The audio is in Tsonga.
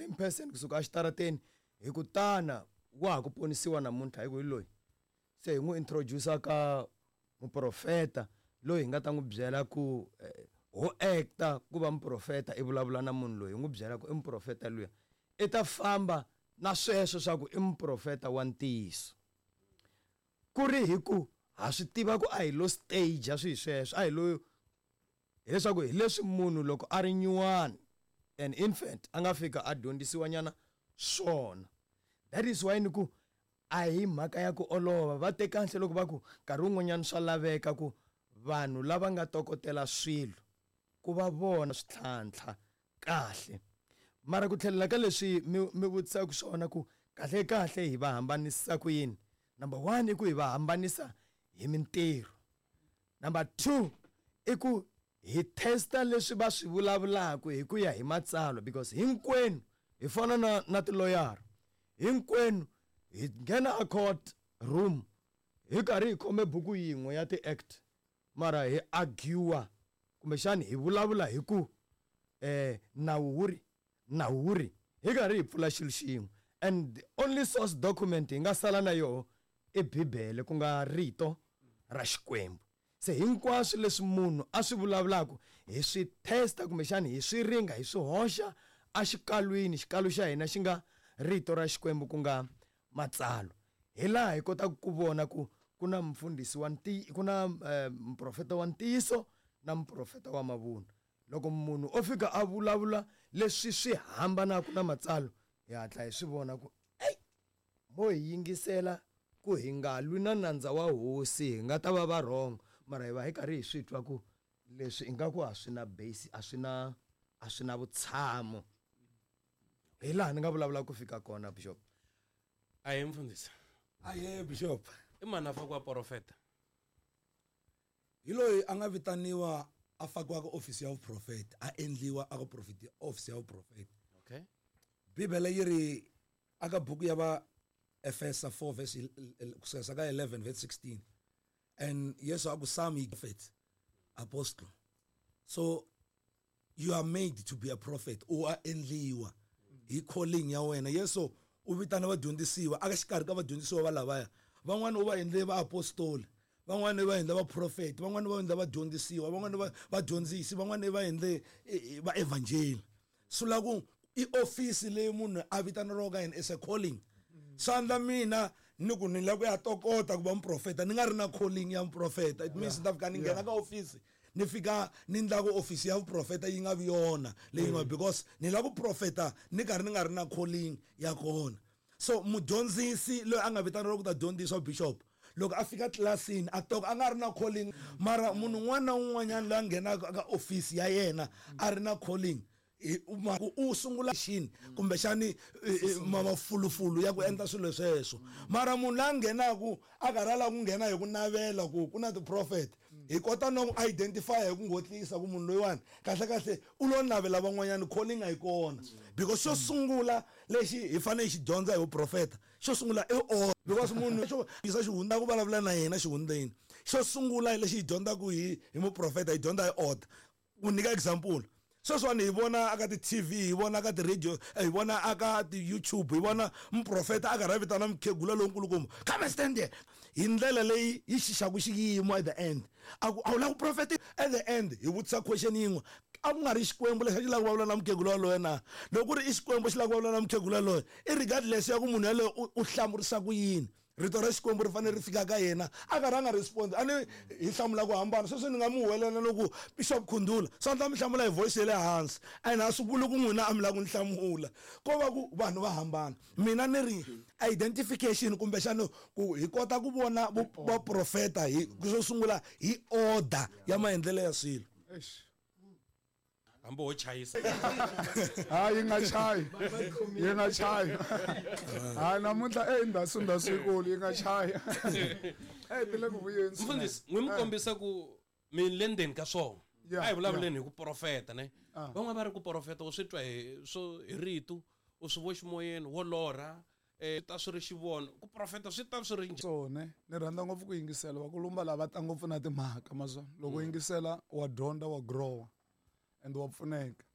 same person kusuka exitarateni hi ku tana wa ha ku ponisiwa namuntlha hi ku hi loyi. Se hi n'wi introduce ka muprofeta loyi hi nga ta n'wi byela ku ho acta ku va muprofeta i vulavula na munhu loyi hi n'wi byela ku i muprofeta luya i ta famba na sweswo swa ku i muprofeta wa ntiyiso. Ku ri hi ku ha swi tiva ku a hi lo stage swi sweswo a hi lo hileswaku hi leswi munhu loko a ri nyuwani an infant a nga fika a dyondzisiwa nyana swona. That is why ni ku a hi mhaka ya ku olova va te kahle loko va ku nkarhi wun'wanyana swa laveka ku vanhu lava nga tokotela swilo ku va vona swi tlhantlha kahle. Mara ku tlhelela ka leswi mi vutisaka swona ku kahle kahle hi va hambanisa ku yini. Number 1 i ku hi va hambanisa hi mintirho. Number 2 i ku hi testa leswi va swi vulavulaka hi ku ya hi matsalwa because hinkwenu hi fana na tiloyara. Hinkwenu hi nghena a court room hi karhi hi khome buku yin'we ya ti-act mara hi argue kumbexani hi vulavula hi ku nawu wu ri hi karhi hi pfula xilo xin'we. And the only source document hi nga sala na yoho i Bibele ku nga rito ra Xikwembu. Se hinkwaswo leswi munhu a swi vulavulaka hi swi testa kumbexani hi swi ringa hi swi hoxa exikalwini, xikalu xa hina xi nga rito ra Xikwembu ku nga matsalwa. Hi laha hi kotaka ku vona ku ku na mufundhisi wa ku na muprofeta wa ntiyiso na muprofeta wa mavunwa. Loko munhu o fika a vulavula leswi swi hambanaka na matsalwa hi hatla hi swi vona ku ey mo hi yingisela ku hi nga lwi na nandza wa hosi hi nga ta va va wrong mara hi va hi karhi hi swi twa ku leswi ingaku a swi na base a swi na vutshamo. Hi laha ni nga vulavula ku fika kona bishop. Ahe mfundhisi. Ahe bishop. I mani a fakiwa profeta? Hi loyi a nga vitaniwa a fakiwa ka office ya vuprofeta, a endliwa a ka profeti office ya vuprofeta. Okay. Bibele yi ri aka buku ya va Efesa 4 verse kusuka ka 11 verse 16. And Yesu a ku some he prophet, apostle. So you are made to be a prophet. U a endliwa hi calling ya wena. Yesu u vitana vadyondzisiwa aka xikarhi ka vadyondzisiwa va lavaya. Van'wana u va endle va apostoli, van'wana va endle va prophet, van'wana va endle vadyondzisiwa, van'wana va vadyondzisi, van'wana va endle va evangeli. Swi la ku i office leyi munhu a vitaneriwaka yena is a calling. Swa mina ni ku ni lava ku ya tokota ku va muprofeta ni nga ri na calling ya muprofeta. It means ni ta fika ni nghena ka office ni fika ni ndla ku office ya vuprofeta yi nga vi yona leyi nga because ni lava ku profeta ni karhi ni nga ri na calling ya kona. So mudyondzisi loyi a nga vitaneriwa ku ta dyondzisa bishop loko a fika tlilasini a toka a nga ri na calling, mara munhu un'wana na un'wanyana loyi a nghenaka ka office ya yena a ri na calling u sungula xini kumbexani mafulufulu ya ku endla swilo sweswo. Mara munhu la nghenaku a karhi a lava ku nghena hi ku navela ku ku na ti-prophet hi kota no identify hi ku ngotlisa ku munhu loyiwani kahle kahle u lo navela van'wanyana, calling a yi kona. Because xo sungula lexi hi fanele hi xi dyondza hi vuprofeta, xo sungula i order. Because munhu xo yisa xihundla ku vulavula na yena xihundleni, xo sungula lexi hi dyondzaka hi muprofeta hi dyondza hi order. Ku nyika example, sweswiwani hi vona aka ti-TV, hi vona aka ti-radio, hi vona aka ti-YouTube, hi vona muprofeta a karhi a vitana mukhegula lonkulukumba, come and stand there, hi ndlela leyi yi xixaku xiyimo at the end a ku a wu lava ku profeta. At the end hi vutisa question yin'we, a ku nga ri Xikwembu lexi a xi lava ku vulavula na mukhegula waloye na? Loko ku ri i Xikwembu xi lava ku vulavula na mukhegula yaloye, i regardless ya ku munhu yaloye u hlamurisa ku yini, rito ra Xikwembu ri fanele ri fika ka yena a karhi a nga respond. A ni hi hlamula ku hambana. Sweswi ni nga mu huwelela loko Bishop Khundula swa ndla mi hlamula hi voice ya le hansi, and a swi vuli ku n'wina a mi lava ku ni hlamula, ko va ku vanhu va hambana. Mina ni ri identification kumbexana ku hi kota ku vona vaprofeta hi xo sungula hi order ya maendlelo ya swilo. Hambi ho chayisa. Ha yi nga chayi, yi nga chayi. Ha namuntlha ndasi yikulu yi nga chayi. Ti le ku vuyeni. Mfundhisi, n'wi mi kombisa ku mi le ndzeni ka swona. A hi vulavuleni hi ku profeta ne. Van'wana va ri ku profeta u swi twa hi swo hi rito, u swi vo ximoyeni, wo lorha, ta swi ri xivono. Ku profeta swi ta swi ri njhani? Swona, ni rhandza ngopfu ku yingisela vakulumba lava ta ngopfu na timhaka mazona. Loko yingisela wa dyondza, wa grow and wa pfuneka.